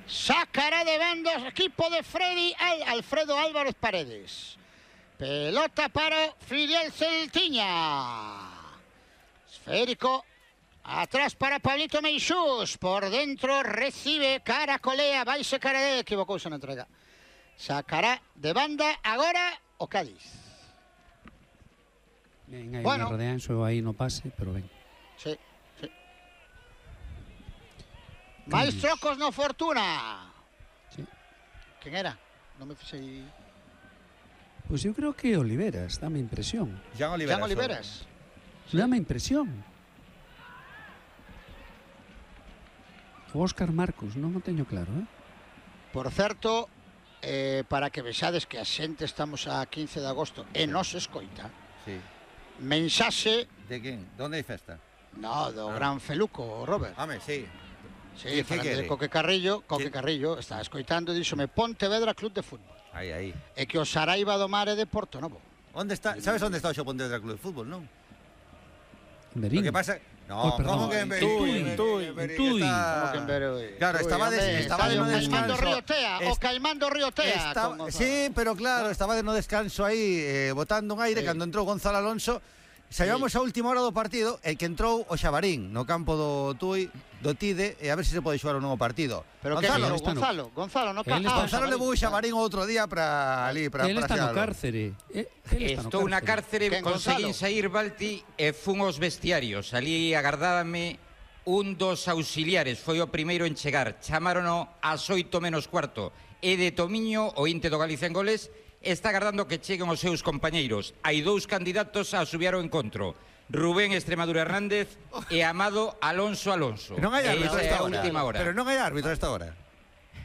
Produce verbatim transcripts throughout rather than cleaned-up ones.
Sacará de banda o equipo de Freddy Al Alfredo Álvarez Paredes. Pelota para Filial Celtiña. Esférico. Atrás para Pablito Meixús. Por dentro recibe Caracolea. Vaise Carade. Equivocouse na entrega. Sacará de banda agora o Cádiz. Ben, aí bueno. rodean, so aí no pase, pero ben. Sí, sí. Máis trocos no Fortuna. Sí. Quen era? Non me fixei... Pois pues eu creo que Oliveras, dame impresión. Jan Oliveras. Jan Oliveras. Sí. Dame impresión. O Óscar Marcos, non o teño claro, eh? Por certo, eh, para que vexades que a xente estamos a quince de agosto e nos escoita, sí. Mensaxe... De quen? Donde hai festa? No, do ah. Gran Feluco, Robert. Home, sí. Sí, falando de Coque Carrillo, Coque Carrillo está escoitando e díxome Pontevedra Club de Fútbol. Aí, aí. E que o Saraiva do Mar é de Porto Novo. Onde está? Sabes onde está o xo Pontevedra Club de Fútbol, non? Berín. O que pasa... No, oh, como que en Berín? Tui, Tui, Tui. Como que en Berín? Claro, estaba de, estaba de no Caimando descanso. Río Tea, o Caimando Río Tea. Está, sí, pero claro, estaba de no descanso aí, eh, botando un aire, sí. Cando entrou Gonzalo Alonso. Saíamos sí. A última hora do partido e que entrou o Xabarín no campo do Tui, do Tide, e a ver se se pode xogar un novo partido. Pero Gonzalo, que Gonzalo, Gonzalo, no ca... ah, Gonzalo levou o Xabarín outro día para ali, para Él está no cárcere. Estou na cárcere, conseguín sair, Balti, e fun aos vestiarios. Ali agardábame un dos auxiliares, foi o primeiro en chegar. Chamárono ás oito menos cuarto. E de Tomiño, o inte do Galicia en Goles, está agardando que cheguen os seus compañeiros. Hai dous candidatos a subir ao encontro. Rubén Extremadura Hernández e Amado Alonso Alonso. Non hai árbitro esta hora. hora. Pero non hai árbitro esta hora.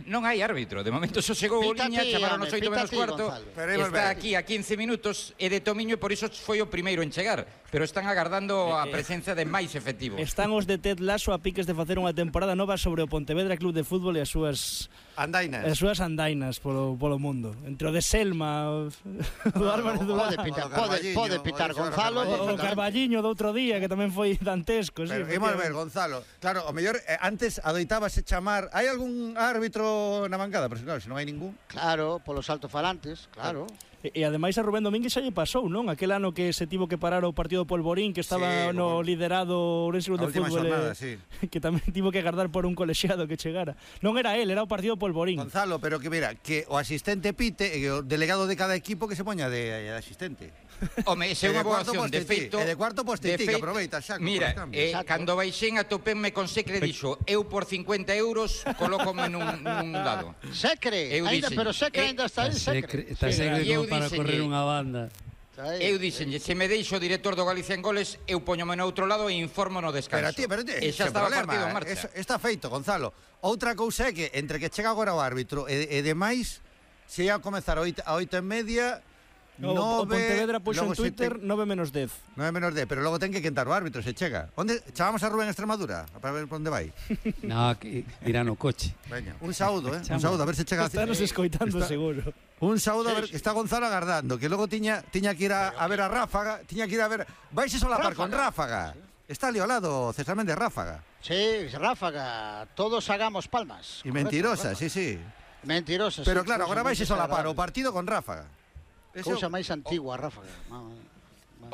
Non hai árbitro, de momento só chegou o liña, chamaron os oito menos cuarto. Está aquí a quince minutos e de Tomiño e por iso foi o primeiro en chegar. Pero están agardando a presencia de máis efectivos. Están os de Ted Lasso a piques de facer unha temporada nova sobre o Pontevedra Club de Fútbol e as súas andainas. As súas andainas polo, polo mundo. Entre o de Selma, o do Álvarez Durán. Pode pitar, pode, pode pitar Gonzalo. O Carballiño do outro día, que tamén foi dantesco. Pero, sí, imos ver, Gonzalo. Claro, o mellor, eh, antes adoitábase chamar... Hai algún árbitro na bancada? Pero claro, se non hai ningún... Claro, polos altofalantes, claro. E, e ademais a Rubén Domínguez xa lle pasou, non? Aquel ano que se tivo que parar o partido do Polvorín, que estaba sí, no bueno, liderado Ourense Club de Fútbol, xornada, sí. Que tamén tivo que agardar por un colexiado que chegara. Non era él, era o partido Polvorín. Gonzalo, pero que mira, que o asistente pite e o delegado de cada equipo que se poña de, de asistente. Home, esa é unha boa opción, de feito... E de cuarto postiti, que aproveita, xa. Mira, eh, cando baixen a topenme con Secre dixo, eu por cincuenta euros colócome nun, nun dado. Secre, ainda, pero Secre ainda está aí, Secre. Está Secre como para correr unha banda. Eu dixenlle, se me deixo o director do Galicia en Goles, eu poñome no outro lado e informo no descanso. Pero ti, pero ti, e xa estaba o partido en marcha. Eso, está feito, Gonzalo. Outra cousa é que entre que chega agora o árbitro e, e demais, se ia a comezar a oito e media... No, o Pontevedra puxo en Twitter te... nove menos dez. nove menos dez, pero logo ten que quentar o árbitro, se chega. Onde chamamos a Rubén Extremadura para ver por onde vai? No, que irá no coche. Veña, un saúdo, eh? Un saúdo, a ver se chega. Estános escoitando está... seguro. Un saúdo, a ver, está Gonzalo agardando, que logo tiña tiña que ir a, a ver a Ráfaga, tiña que ir a ver, vaise solapar con Ráfaga. Está ali ao lado César Méndez Ráfaga. Sí, Ráfaga, todos hagamos palmas. Y mentirosa, sí, sí. Mentirosa. Pero claro, agora vaise solapar o partido con Ráfaga. Cousa máis antigua, Ráfaga.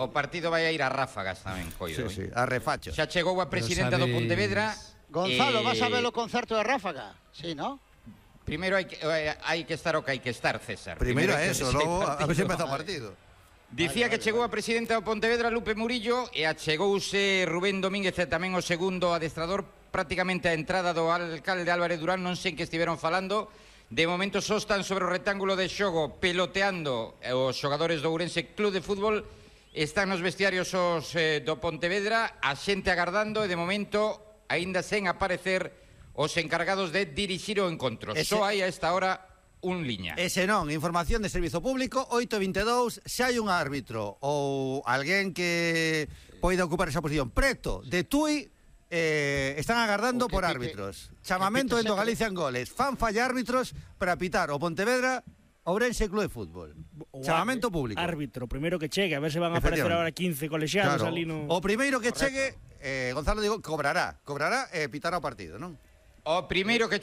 O partido vai a ir a Ráfagas tamén, coido. Sí, sí, a refacho. Xa chegou a presidenta do Pontevedra. Gonzalo, vas a ver o concerto de Ráfaga? Sí, ¿no? Primeiro hai que, hai que estar o que hai que estar, César. Primeiro é eso, logo a ver se empeza o partido. Dicía que chegou a presidenta do Pontevedra, Lupe Murillo, e achegouse Rubén Domínguez e tamén o segundo adestrador, prácticamente a entrada do alcalde Álvarez Durán, non sei en que estiveron falando. De momento só están sobre o rectángulo de xogo peloteando os xogadores do Ourense Club de Fútbol. Están nos vestiarios os eh, do Pontevedra, a xente agardando e de momento aínda sen aparecer os encargados de dirixir o encontro. Ese... Só hai a esta hora un liña. Ese non, información de servizo público, oito e vinte e dous, se hai un árbitro ou alguén que poida ocupar esa posición preto de Tui, Eh, están agardando por árbitros. Chamamento en do Galicia en Goles. Fan falla árbitros para pitar o Pontevedra Ourense Club de Fútbol. O Chamamento público. Árbitro, primeiro que chegue, a ver se van a aparecer ahora quince colexiados claro. ali no... O primeiro que chegue, eh, Gonzalo digo, cobrará, cobrará e eh, pitará o partido, non? O primeiro que